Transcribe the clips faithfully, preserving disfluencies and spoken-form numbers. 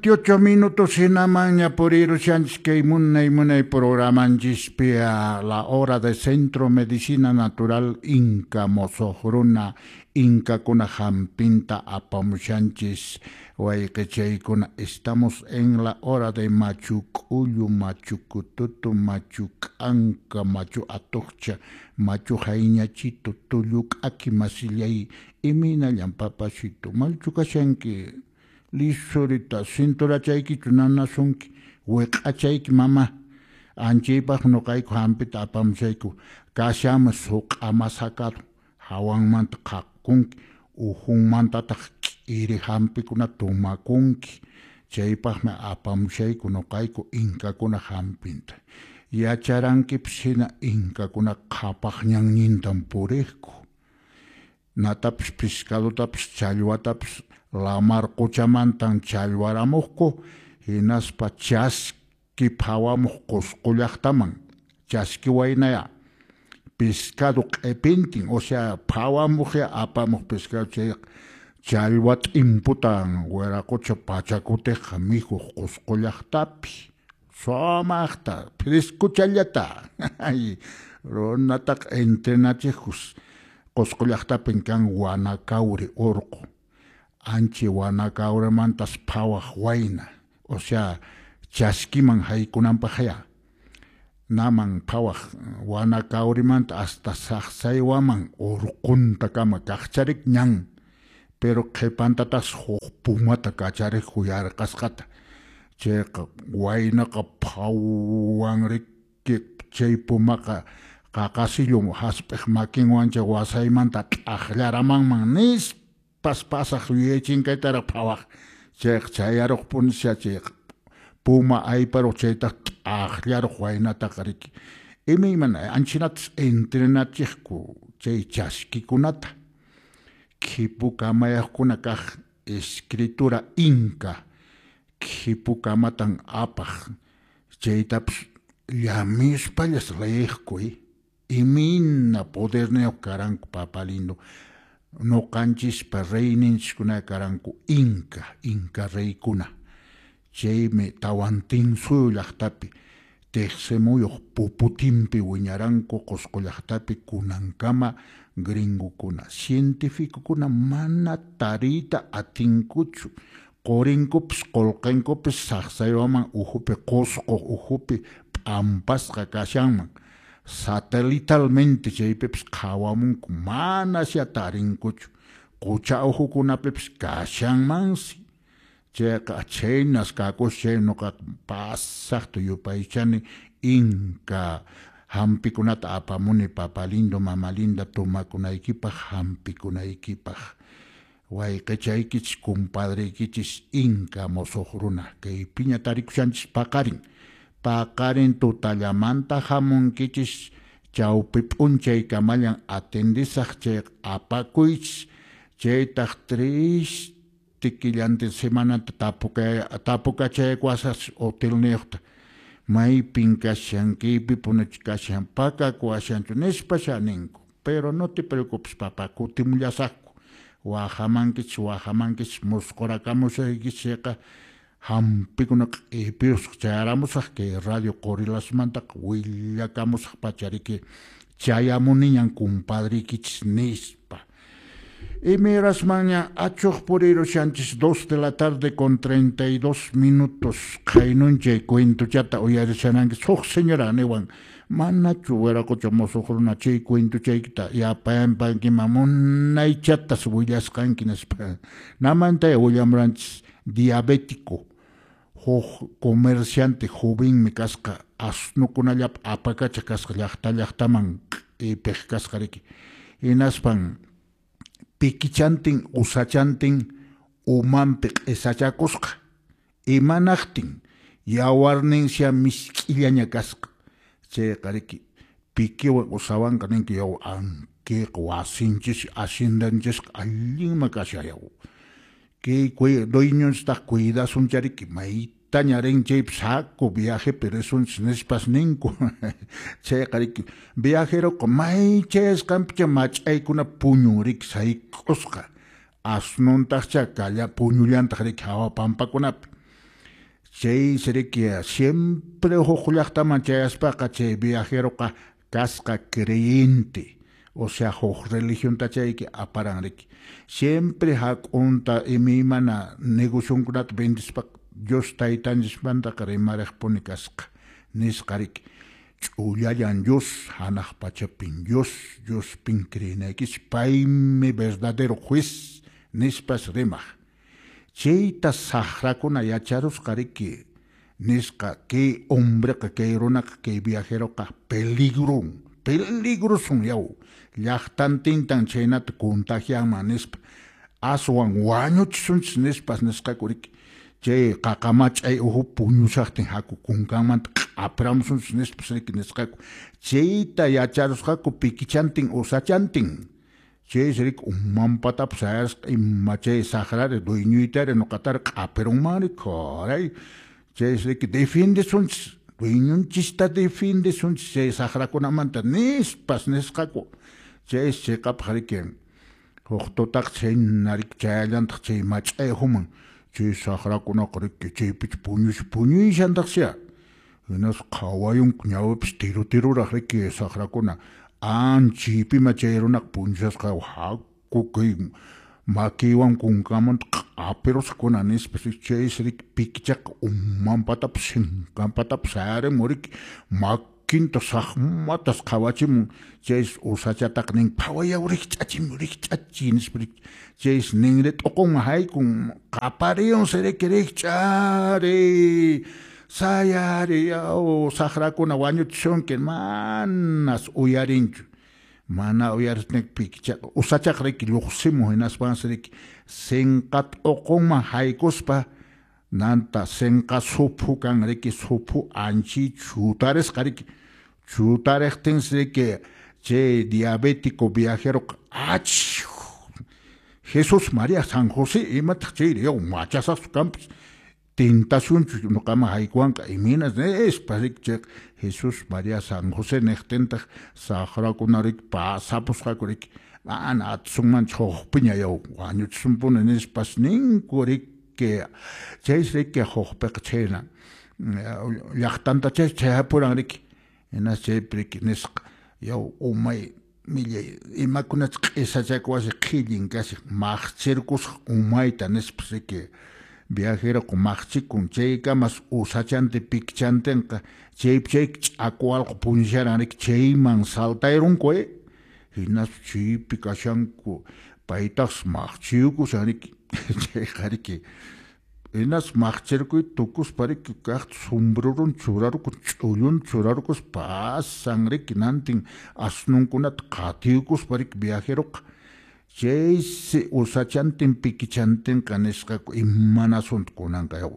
veintiocho minutos hinamanña purirushanchis kay munay munay programanchispi a la hora de Centro Medicina Natural Inca Mosoq Runa Inkakuna hampinta apamushanchis wayqichaykuna. Estamos en la hora de Machu K'ullu, Machu Kututu, Machu K'anka, Machu Atuqcha, Machu Hayñachito, Tullu K'aki masillay, imaynallan papachito, malchu kashanki, lisurita, cinturachaykichu nanasunki, wiq'achayki mama, anchaypaq nuqayku hampita apamushayku, kashanmi suq'ama sacado, hawanmanta qhaqkunki, uhunmantataq k'iri hampikuna tumakunki, chaypaqmi apamushayku nuqayku inkakuna hampinta. Yacharankipis hina inkakuna qhapaq ñannintan puriqku, natapis pescadotapis challwatapis lamar quchamantan challwaramuqku, hinaspa chaski phawamuq Qusqu llaqtaman, chaski waynaya pescado q'ipintin, o sea phawamuqya apamuq pescado chayqa challwa t'imputan wiraqucha pachakutiqqa mikhuq Qusqu llaqtapi, sumaqta frescochallata runataqa entrenachiqkus. Qusqu llaqtapin kan Wanakawri urqu, anchi Wanakawrimantas phawaq wayna, o sea chaskiman haykunanpaqya naman phawaq Wanakawrimanta hasta Saqsaywaman urquntakama kaqcharik ñan, pero qhipantatas huk pumata kachariq yarqasqata, chayqa waynaqa phawan riki chay pumaqa qaqasillu hasp'iq makinwancha wasaymanta t'aqllaramanman nispas pasaq yuyaychinkaytaraq phawaq, chayqa chayaruqpunisya chayqa puma ayparuq chaytaq t'aqllaruq waynataqa riki, imaymana anchinatas entrenachiqku chay chaskikunata, khipukamayaqkuna kaq escritura inca khipukamatan apaq, chaytapas llamispallas leeqku, imayna poderniyuq karanku papalindo, nuqanchispa reyninchiskuna karanku inca, inca reykuna, chaymi Tawantinsuyu llaqtapi tiqsimuyuq puputinpi wiñaranku Qusqu llaqtapi kunankama gringokuna, cientificokuna mana tariyta atinkuchu, qurinkupis qullqinkupis Saqsaywaman uhupi Qusqu uhupi p'ampasqa kashanman, satelitalmente chaypipis qhawamunku manasya tarinkuchu, qucha uhukunapipis kashanmansi, chayqa chhaynas kakusqa chay nuqaqa pasaqta yupaychani inca hampikunata apamuni papalindo mamalinda tumakunaykipaq hampikunaykipaq, wayqichaykichis compadreykichis inca mosoq runa kaypiña tarikushanchis paqarin, paqarin tutallamanta hamunkichis chawpi p'unchaykamallan atendisaq chayqa apakuychis, chaytaq triste killantin semanata tapukachaykuwasaqchis hotelniyuqta, maypin kashan kaypipunachu kashan pakakuwashanchu nispasha ninku, pero no te preocupes papá, kutimullasaqku, wahamankichis wahamankichis musqurakamusaykichis chayqa hampikuna q'ipiyusqa chayaramusaq kay radio Qorilasmantaqa willakamusaq pachariki chayamuniñan compadreykichis nispa. Imayrasmanña achuq purirushanchis dos de la tarde con treinta y dos minutos qhaynunchay cuentochata uyarishanankichis huk señora niwan manachu wiraqucha mosoq runa chay cuentochaykita yapayanpankiman munaychatas willasqanki nispa, namantaya willamuranchis diabético huk comerciante jovenmi kasqa asnukunallapa apakacha kasqa llaqta llaqtaman q'ipiq kasqa riki, hinaspan pikichantin usachantin umanpi q'isachakusqa, imanaqtin yawarninsia misk'illaña kasqa, chayqa riki pikiwan usawanqa ninki yaw ankiqa wasinchis haciendanchisqa allinman kashan yaw, kay dueñonchistaq cuidasuncha riki maytaña rin chaypi saco viajepi risunchis nispas ninku, chayqa riki viajeroqa may chayasqanpicha mach'aykuna puñun riki sayk'usqa, asnuntaqcha kalla puñullantaq riki hawa pampakunapi, Chay riki siempre huk llaqtaman chayaspaqa chay viajeroqa kasqa creyente, o sea huk religionta chayki aparan riki. Siempre hak'unta imaymana negocionkunata vendispa Dios taytanchismantaqa rimariqpuni kasqa nisqa riki. Ch'ullallan Dios, hanaq pachapin Dios, Diospin creenaykichis, paymi verdadero juez nispas rimaq. Chayta saqrakuna yacharusqa riki nisqa kay hombreqa kay runaqa kay viajeroqa peligron, peligroson yaw, llaqtantintan chhaynata contagianman nispa, aswan wañuchisunchis nispas nisqaku riki. Chay qaqamach'ay uhu puñushaqtin haku kunkanmanta q'apiramusunchis nispas riki nisqaku. Chayta yacharusqaku pikichantin usachantin. Chaysi riki umanpatapas sayasqa ima chay saqrari dueñoytari nuqatari q'apirunmanri caray. Chaysi riki defiendesunchis, dueñonchista defiendesunchis chay saqrakunamanta nispas nisqaku. Chaysi chiqapaq riki huk tutaqa chhayna riki chayallantaq chay mach'ay uhuman. Chay saqrakunaqa riki chaypicha puñush puñuyshantaqsya. Hinaspa qhawayunku ñawipis tiru tiruraq riki saqrakuna. Anchaypima chay runaqa puñushasqa haku kay makiywan kunkamanta q'apirusqakuna nispa chaysi riki pikichaqa umanpatapas sinkanpatapas sayarimun riki makinta saqmatas qhawachimun. Chaysi usachataqa nin phawayaw rikch'achimuy rikch'achiy nispa riki. Chaysi ninri t'uqunman haykun qapariyunsi riki rikch'ariy sayariy yaw saqrakuna wañuchisunki manas uyarinchu. Mana uyaristin pikichaqa usachaqa riki lluqsimun hinaspansi riki sinqa t'uqunman haykuspa nanta sinqa suphu kan riki suphu anchi chutarisqa riki. Chutariqtinsi riki chay diabético viajeroqa achh Jesús María San José imataq chayri yaw machasaqchu kanpas tentacionchu nuqaman haykuwanqa imaynas nispa riki chayqa Jesús María San José niqtintaq saqrakuna riki pasapusqaku riki mana atisunmanchu hukpiña yaw wañuchisunpuni nispas ninku riki. Chaysi riki hukpiqa chhayna llaqtanta chay chayapuran riki. Hinas chaypi riki nisqa yaw umay millay imakunachus q'isachakuwasi qhillin kashan maqchirkusaq umayta nispas riki. Viajeroqa maqchikun chaykamas usachantin pikichantinqa chaypi chay ch'aku allqu puñusharan riki chayman saltayrunku eh. Hinaspa chaypi kashanku paytaqsi maqchiyukushan riki chayqa riki. Hinaspa maqchirkuyta tukuspa riki kaqta sombrerun churarukun ch'ullun churarukuspa pasan riki nantin asnunkunata qatiyukuspa riki viajeroqa. Chaysi usachantin pikichantinqa nisqaku imanasunta kunanqa yaw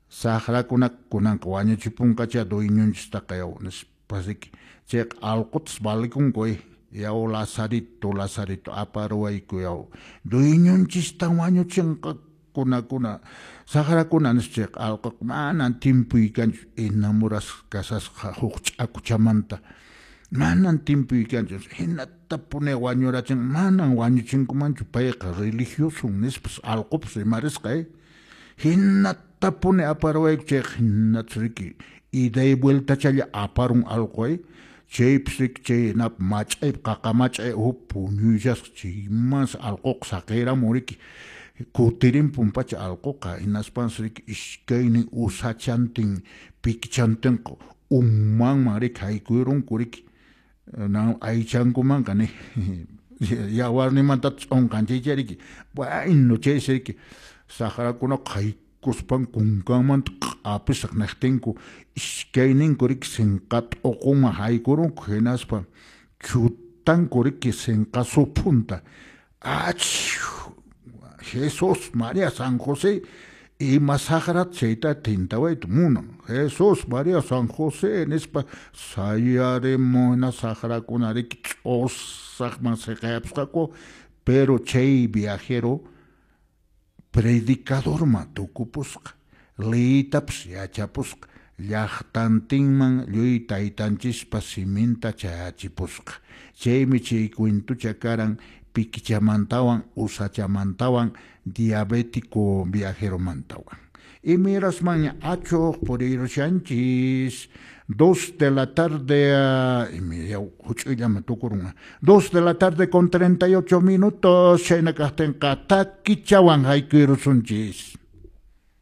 saqrakunaqa kunanqa wañuchipunqachá dueñonchistaqa yaw nispas riki. Chayqa allqutas valikunku eh yaw Lazarito Lazarito aparuwayku yaw dueñonchistan wañuchinqa kunakuna saqrakuna nispa chayqa allquqa manan timpuy kanchu enamorasqa kashasqa huk ch'akuchamanta manan timpuy kanchu hinatapuni wañurachin manan wañuchinkumanchu payqa religioso nispas allqupas rimarisqa eh. Hinatapuni aparuwayku chayqa hinatas riki ida y vueltachalla aparun allqu eh. Chaypis riki chay nap mach'aypi qaqa mach'ay uhu puñuyshasqa chaymansi allquqa saqiramun riki. Kutirinpun pacha allquqa hinaspansi riki iskaynin usachantin pikichantinqa umanman riki haykuyurunku riki. Aychankumanqa ni yawarnimanta ch'unqanchaycha riki. Bueno chaysi riki saqrakunaqa haykuspan kunkanmanta q'apisaq niqtinku iskayninku riki sinqa t'uqunman haykurunku hinaspa chutanku riki sinqa suphunta. Ach Jesús María San José ima saqrat chayta tintawayta munan. Jesús María San José nispa sayarimuna saqrakuna riki ch'usaqman siqayapusqaku. Pero chay viajero predicadorman tukupusqa, liytapas yachapusqa, llaqtantinman lluy taytanchispa siminta chayachipusqa. Chaymi chay cuentucha karan pikichamantawan usachamantawan diabético viajeromantawan. Imirasmanña achuq puriyrushanchis. Dos de la tarde, huch'uyllaman tukurun. Dos de la tarde con treinta y ocho minutos, chayna kaqtinqa takichawan haykuyrusunchis.